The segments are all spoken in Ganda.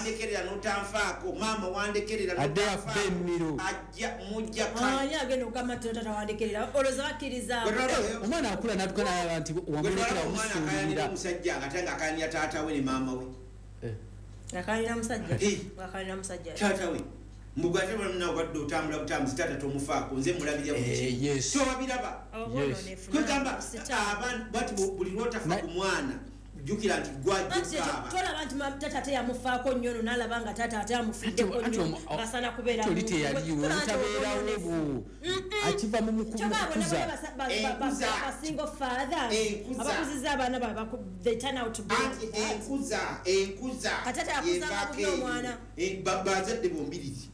Wandekerera n'otanfaako, maama wandekerera Adde n'otanfaako. affe emmiro. Ajja mujja Ani agenda okugamba nti taata wandekerera? Olowooza bakkiriza? Omwana akula n'atuuka n'alaba nti wamulekera Omwana akayanira omusuulirira. omusajja nga ate nga akayanira taata we ne maama we. Ng'akayanira musajja? Eh. Ng'akayanira musajja? Taata we mbuga ate nawe obadde otambula butambuzi, taata tomufaako, nze mulabirira buli Eh, kimu. yes. Tobabiraba. Yes. Kwegamba abaana bati buli lwotafa ku mwana, jjukira nti Anti gwajjukaaba. tolaba nti taata ate yamufaako nnyo, no nalaba nga taata ate amufiddeko nnyo, ngasaana kubeera Oli muntu. teyaliwo, Tolaba nti obutabeerawo obwononefu. bwo akiva mu Kyokka abo mukuza. nabo Enkuza. ba single fathers Enkuza. abakuzizza abaana baabwe, they turn out to be Anti like that. enkuza Kati ate akuzanga yevaako bubi eyo. omwana. Eh, bazadde bombirizi.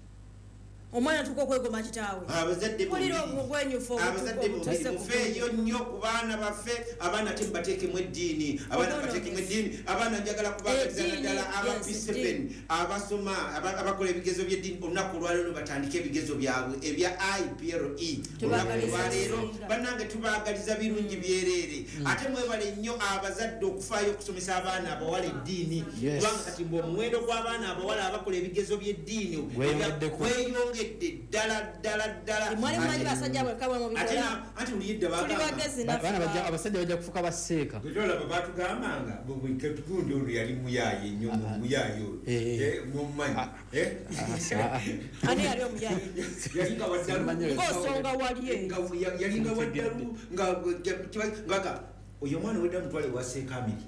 Omwana atuuka okwegoma kitaawe. Abazadde Mpulira bombirizi. obugwenyufu Abazadde obutuuse bombiri ku mufeeyo nnyo ku baana baffe. Abaana te mubateekemu eddiini, abaana Obwononefu. bateekemu eddiini. Abaana njagala kubagaliza Eddiini, naddala aba yes, P7 eddiini. abasoma, abakola ebigezo by'eddiini. Olunaku olwaleero batandike ebigezo byabwe ebya IPRE. Olunaku Tubaagaliza olwaleero bisinga. bannange tubaagaliza birungi byereere. Ate mwebale nnyo abazadde okufaayo okusomesa abaana abawala eddiini, Yes. kubanga kati mbu omuwendo gw'abaana abawala abakola ebigezo by'eddiini Gweyongeddeko. gweyongedde ddala ddala ddala. Mwali mumanyi basajja bwekka bwe Ate mubikola? anti uliyidde Tuli bagamba bagezi Baana naffe. abasajja bajja kufuuka baseeka. Bwetolaba batugambanga gundi ono yali muyaaye nnyo, muyaaye oyo. Eh. Eh, mumumanyi? Ah. Eh? Ani yali omuyaye? Yalinga waddalu. Simanyi. Ng'osonga wali eyo. Nga yalinga waddalu nga Oyo omwana wedda mutwale wa Seekamiri.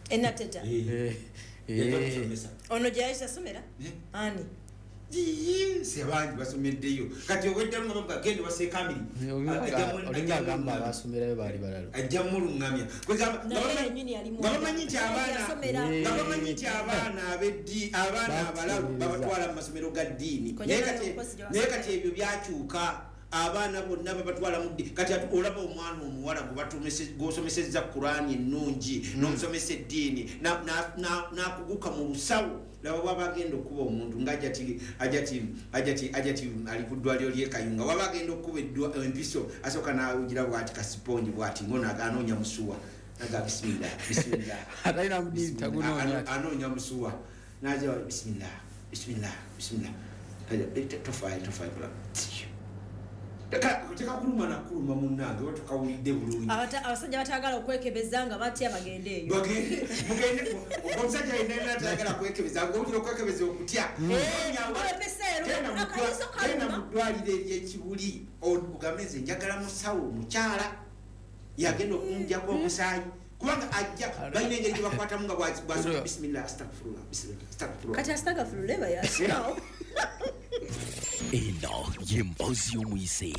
Enateta. Eh, eh. Ono gye yali tasomera? Eh? Ani? Sebangi basomeddeyo, kati oweddalu nga bamuga genda wa Seekamiri. Olinga agamba abasomerayo baali balalo. Ajja muluŋŋamya. Naye yennyini yali Nga bamanyi nti abaana yasomera. Eh. nga bamanyi nti abaana abeddi, abaana abalalu babatwala mu masomero ga ddiini. Kojja Naye naye kati omukozi gye naye wasomera. Kati ebyo byakyuka, abaana bonna babatwala mu ddiini. Kati ate olaba omwana omuwala gw'osomesezza Kurani ennungi, n'omusomesa eddiini, n'akuguka mu busawo, laba bwaba agenda okuba omuntu nga ajati ali ku ddwaliro ly'e Kayunga, waba agenda okuba empiso, asooka n'awugira bwati kasipongi bwati ngono anoonya musuwa, naga bismillah, bismillah. Atalina mudiini tagunoonya. Anoonya musuwa, naja bismillah, bismillah, bismillah. Aja, eh, tofaayo, tofaayo. Tekakuluma nakuluma munnange oba tokawulidde bulungi. Abasajja batagala okwekebeza nga batya bagende eyo. Bagende, mugende. Omusajja alina tayagala kwekebeza, ngaowulira okwekebeza okutya. Eh, olepesa Genda ero, akaliiso genda kaluma. mu ddwaliro eryekibuli, ogambe nze njagala musawo omukyala yagenda okunjako omusaayi, kubanga ajja balina engeri gyebakwatamu nga bismillah, astagfirullah, bismillah, astagfirullah. Kati asitagafululeba yasinawo. Eno y'emboozi y'omuyise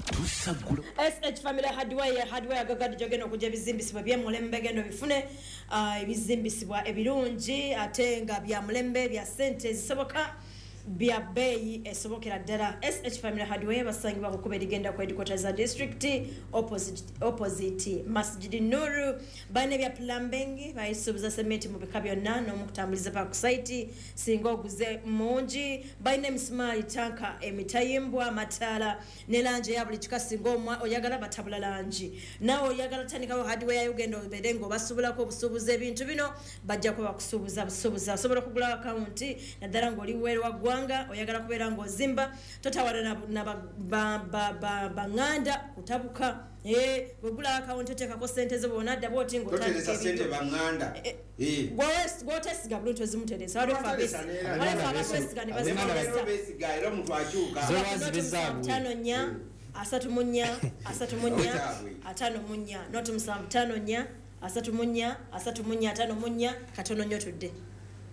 tusaggula. SH Family Hardware, hardware agagadde gyogenda okujja ebizimbisibwa byemulembe, genda obifune, ebizimbisibwa ebirungi ate nga bya mulembe, bya sente ezisoboka, bya bbeeyi esobokera ddala. SH Family Hardware basangibwa ku kkubo erigenda ku headquarters za district, opposite Masjidi Nuru. Balina ebya plumbing, bayisuubuza sementi mu bika byonna n'omukutambuliza pa ku site singa oguze mungi. Balina emisumaali, tanka, emitayimbwa, amataala ne langi eya buli kika. Singa oyagala batabula langi, naawe oyagala tandikawo hardware yayo, ogenda obeere ng'obasuubulako obusuubuza ebintu bino, bajja kuba bakusuubuza busuubuza. Osobola okugula akawunti naddala ng'oli weeru wa ggwanga, oyagala kubeera ng'ozimba, totawana na baŋŋanda kutabuka. Eh, bwegula akawunti oteekako sente zo, bwonadda bwoti Toteresa ng'otandika sente ebintu. baŋŋanda. Eh, Eh. Gwotesiga bulungi tozimuteresa. Waliwo ffe Toteresa neera. waliwo ffe abakwesiga ne Abaana baziteresa. Beesiga era omuntu akyuka. Zo- Noti Zibe zaabwe. 754 34 34 Zaabwe. 54, noti 754 34 34 54. Katono nnyo tudde.